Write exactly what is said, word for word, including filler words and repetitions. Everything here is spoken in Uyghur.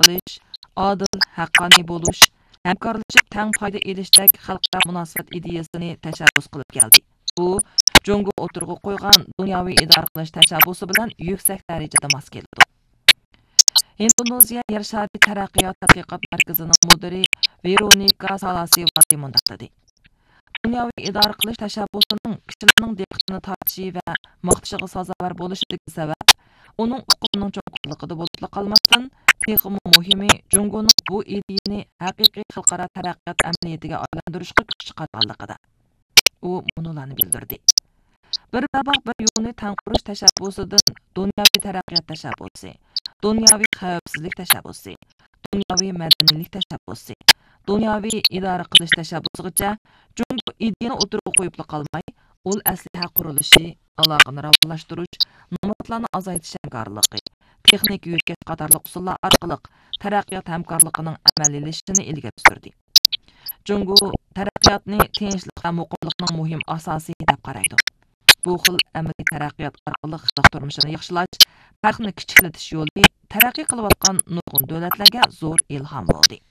قىلىش، ئادىل، ھەققانىي بولۇش، ھەمكارلىشىپ تەڭ پايدا ئېلىشتەك خەلقئارا مۇناسىۋەت ئىدىيەسىنى تەشەببۇس قىلىپ كەلدى. بۇ جۇڭگو ئوتتۇرىغا قويغان دۇنياۋى ئىدارە قىلىش تەشەببۇسى بىلەن يۈكسەك دەرىجىدە ماس كېلىدۇ. ھىندونېزىيە يەر شارى تەرەققىيات تەتقىقات مەركىزىنىڭ مۇدىرى ۋېرونىكا سالاسىۋاتى مۇنداق دېدى: دۇنياۋى ئىدارە قىلىش تەشەببۇسىنىڭ كىشىلەرنىڭ دىققىتىنى تارتىشى ۋە ماختىشىغا سازاۋەر بولۇشىدىكى سەۋەب، ئۇنىڭ ئۇقۇمىنىڭ چوڭقۇرلۇقىدا بولۇپلا قالماستىن، تېخىمۇ مۇھىمى، جۇڭگونىڭ بۇ ئىدىيىنى ھەقىقىي خەلقئارا تەرەققىيات ئەمەلىيىتىگە ئايلاندۇرۇشقا كۈچ چىقارغانلىقىدا. ئۇ مۇنۇلارنى بىلدۈردى: بىر باباق بىر يولنى تەڭ قۇرۇش تەشەببۇسىدىن دۇنياۋى تەرەققىيات تەشەببۇسى، دۇنياۋى خەۋپسىزلىك تەشەببۇسى، دۇنياۋى مەدەنىيلىك تەشەببۇسى، دۇنياۋى ئىدارە قىلىش تەشەببۇسىغىچە جۇڭگو ئىدىيەنى ئوتتۇرىغا قويۇپلا قالماي، ئۇل ئەسلىھە قۇرۇلۇشى، ئالاقىنى راۋانلاشتۇرۇش، نامراتلارنى ئازايتىش ھەمكارلىقى، تېخنىكا يۆتكەش قاتارلىق ئۇسۇللار ئارقىلىق تەرەققىيات ھەمكارلىقىنىڭ ئەمەلىيلىشىشىنى ئىلگىرى سۈردى. جۇڭگو تەرەققىياتنى تىنچلىق ۋە مۇقىملىقنىڭ مۇھىم ئاساسى دەپ قارايدۇ. بۇ خىل ئەمەلىي تەرەققىيات ئارقىلىق خەلق تۇرمۇشىنى ياخشىلاش، پەرقنى كىچىكلىتىش يولى تەرەققىي قىلىۋاتقان نۇرغۇن دۆلەتلەرگە زور ئىلھام بولدى.